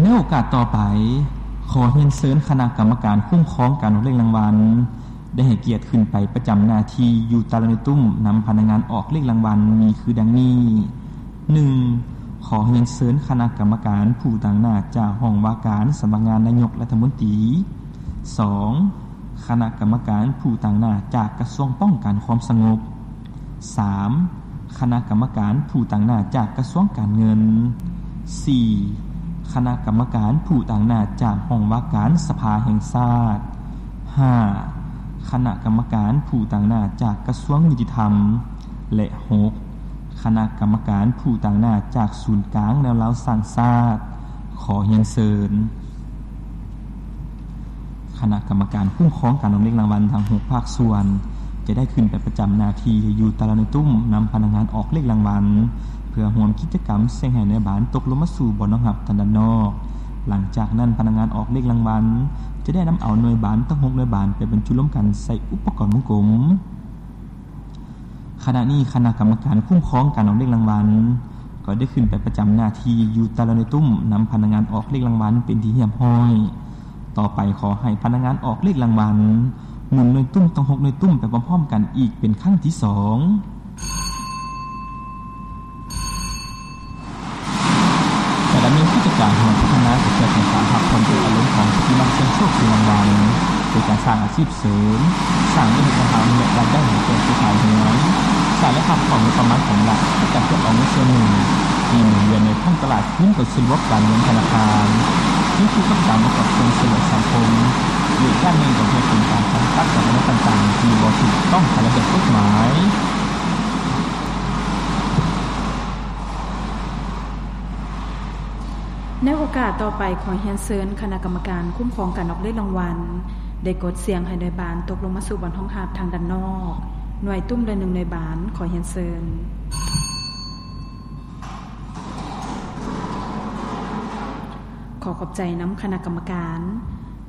ໃນໂອກາດຕໍ່ໄປ, ຂໍຮຽນເຊີນຄະນະກຳມະການຄຸ້ມຄອງການອອກເລກລາງວັນ ໄດ້ໃຫ້ກຽດຂຶ້ນໄປປະຈຳໜ້າທີ່ຢູ່ແຕ່ລະໜ່ວຍຕຸ້ມ ນຳພະນັກງານອອກເລກລາງວັນ ມີຄືດັ່ງນີ້: ໜຶ່ງ ຂໍຮຽນເຊີນຄະນະກຳມະການຜູ້ຕາງໜ້າຈາກຫ້ອງວ່າການສຳນັກງານນາຍົກລັດຖະມົນຕີ. ສອງ ຄະນະກຳມະການຜູ້ຕາງໜ້າຈາກກະຊວງປ້ອງກັນຄວາມສະຫງົບ. ສາມ ຄະນະກຳມະການຜູ້ຕາງໜ້າຈາກກະຊວງການເງິນ. ສີ່ ຄະນະກຳມະການຜູ້ຕາງໜ້າຈາກຫ້ອງວ່າການສະພາແຫ່ງຊາດ. ຫ້າ ຄະນະກຳມະການຜູ້ຕາງໜ້າຈາກກະຊວງຍຸຕິທຳ. ແລະ ຫົກ ຄະນະກຳມະການຜູ້ຕາງໜ້າຈາກສູນກາງແນວລາວສ້າງຊາດ. ຂໍຮຽນເຊີນ. ຄະນະກຳມະການຄຸ້ມຄອງການອອກເລກລາງວັນທັງຫົກພາກສ່ວນ ຈະໄດ້ຂຶ້ນໄປປະຈຳໜ້າທີ່ຢູ່ແຕ່ລະໜ່ວຍຕຸ້ມ ນຳພະນັກງານອອກເລກລາງວັນ ເພື່ອຮ່ວມກິດຈະກຳສ່ຽງໃຫ້ນາຍບານຕົກລົງມາສູ່ບ່ອນຮອງຮັບທາງດ້ານນອກ. ຫຼັງຈາກນັ້ນ, ພະນັກງານອອກເລກລາງວັນ ຈະໄດ້ນຳເອົາໜ່ວຍບານທັງຫົກໜ່ວຍບານໄປບັນຈຸລວມກັນໃສ່ອຸປະກອນວົງກົມ. ຂະນະນີ້, ຄະນະກຳມະການຄຸ້ມຄອງການອອກເລກລາງວັນ ກໍໄດ້ຂຶ້ນໄປປະຈຳໜ້າທີ່ຢູ່ແຕ່ລະໜ່ວຍຕຸ້ມ ນຳພະນັກງານອອກເລກລາງວັນເປັນທີ່ຮຽບຮ້ອຍ. ຕໍ່ໄປ, ຂໍໃຫ້ພະນັກງານອອກເລກລາງວັນ ໝູນໜ່ວຍຕຸ້ມທັງຫົກໜ່ວຍຕຸ້ມໄປພ້ອມໆກັນອີກເປັນຄັ້ງທີສອງ. ຈະດຳເນີນກິດຈະການຮ່ວມພັດທະນາເພື່ອສ້າງສານຮັບຜ່ອນໂດຍອາລົມຂອງຜູ້ທີ່ມັກສ່ຽງໂຊກສ່ຽງລາງວັນ ໂດຍການສ້າງອາຊີບເສີມ, ສ້າງເວຍກະທຳ ແລະ ລາຍໄດ້ໃຫ້ແກ່ເຄືອຂ່າຍເຮືອນ, ສ້າງ ແລະ ຮັບຄວາມຮູ້ປະມານຂອງລັດໃນການເກັບເອົາເງິນສ່ວນໜຶ່ງທີ່ໝູນວຽນໃນທ້ອງຕະຫຼາດຄືນເຂົ້າສູ່ລະບົບການເງິນທະນາຄານ, ເຮັດຄືກັບການປະກອບສ່ວນຊ່ວຍເຫຼືອສັງຄົມ, ແລະ ດ້ານໜຶ່ງກໍເພື່ອເປັນການກຳຈັດການກະທຳຕ່າງໆທີ່ບໍ່ຖືກຕ້ອງຕາມລະບຽບກົດໝາຍ. ໃນໂອກາດຕໍ່ໄປ, ຂໍຮຽນເຊີນຄະນະກຳມະການຄຸ້ມຄອງການອອກເລກລາງວັນ ໄດ້ກົດສ່ຽງໃຫ້ໜ່ວຍບານຕົກລົງມາສູ່ບ່ອນຮອງຮັບທາງດ້ານນອກ, ໜ່ວຍຕຸ້ມລະໜຶ່ງໜ່ວຍບານ. ຂໍຮຽນເຊີນ. ຂໍຂອບໃຈນຳຄະນະກຳມະການ.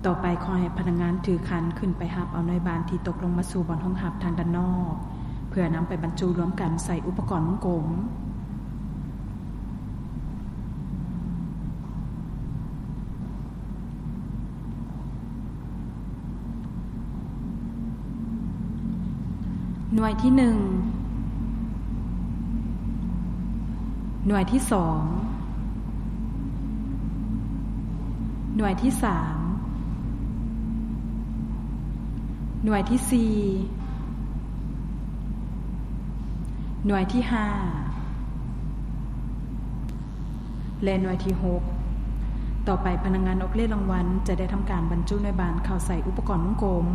ຕໍ່ໄປ, ຂໍໃຫ້ພະນັກງານຖືຂັນຂຶ້ນໄປຮັບເອົາໜ່ວຍບານທີ່ຕົກລົງມາສູ່ບ່ອນຮອງຮັບທາງດ້ານນອກ ເພື່ອນຳໄປບັນຈຸລວມກັນໃສ່ອຸປະກອນວົງກົມ. ໜ່ວຍທີໜຶ່ງ, ໜ່ວຍທີສອງ, ໜ່ວຍທີສາມ, ໜ່ວຍທີສີ່, ໜ່ວຍທີຫ້າ ແລະ ໜ່ວຍທີຫົກ. ຕໍ່ໄປ, ພະນັກງານອອກເລກລາງວັນຈະໄດ້ທຳການບັນຈຸໜ່ວຍບານເຂົ້າໃສ່ອຸປະກອນວົງກົມ.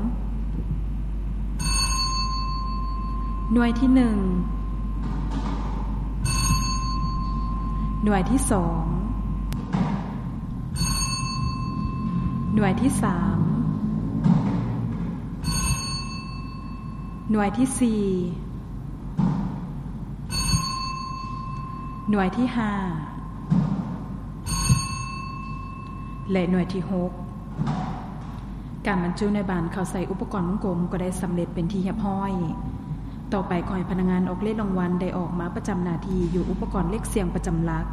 ໜ່ວຍທີໜຶ່ງ, ໜ່ວຍທີສອງ, ໜ່ວຍທີສາມ, ໜ່ວຍທີສີ່, ໜ່ວຍທີຫ້າ ແລະ ໜ່ວຍທີຫົກ. ການບັນຈຸໜ່ວຍບານເຂົ້າໃສ່ອຸປະກອນວົງກົມກໍໄດ້ສຳເລັດເປັນທີ່ຮຽບຮ້ອຍ. ຕໍ່ໄປ, ຂໍໃຫ້ພະນັກງານອອກເລກລາງວັນໄດ້ອອກມາປະຈຳໜ້າທີ່ຢູ່ອຸປະກອນເລກສ່ຽງປະຈຳຫຼັກ,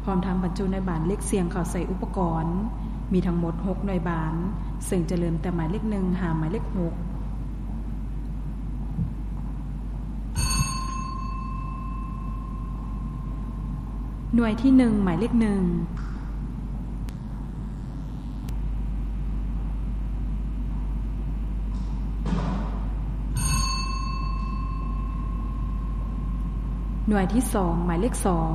ພ້ອມທັງບັນຈຸໜ່ວຍບານເລກສ່ຽງເຂົ້າໃສ່ອຸປະກອນ. ມີທັງໝົດຫົກໜ່ວຍບານ, ເຊິ່ງຈະເລີ່ມແຕ່ໝາຍເລກໜຶ່ງຫາໝາຍເລກຫົກ. ໜ່ວຍທີໜຶ່ງ ໝາຍເລກໜຶ່ງ. ໜ່ວຍທີສອງ ໝາຍເລກສອງ.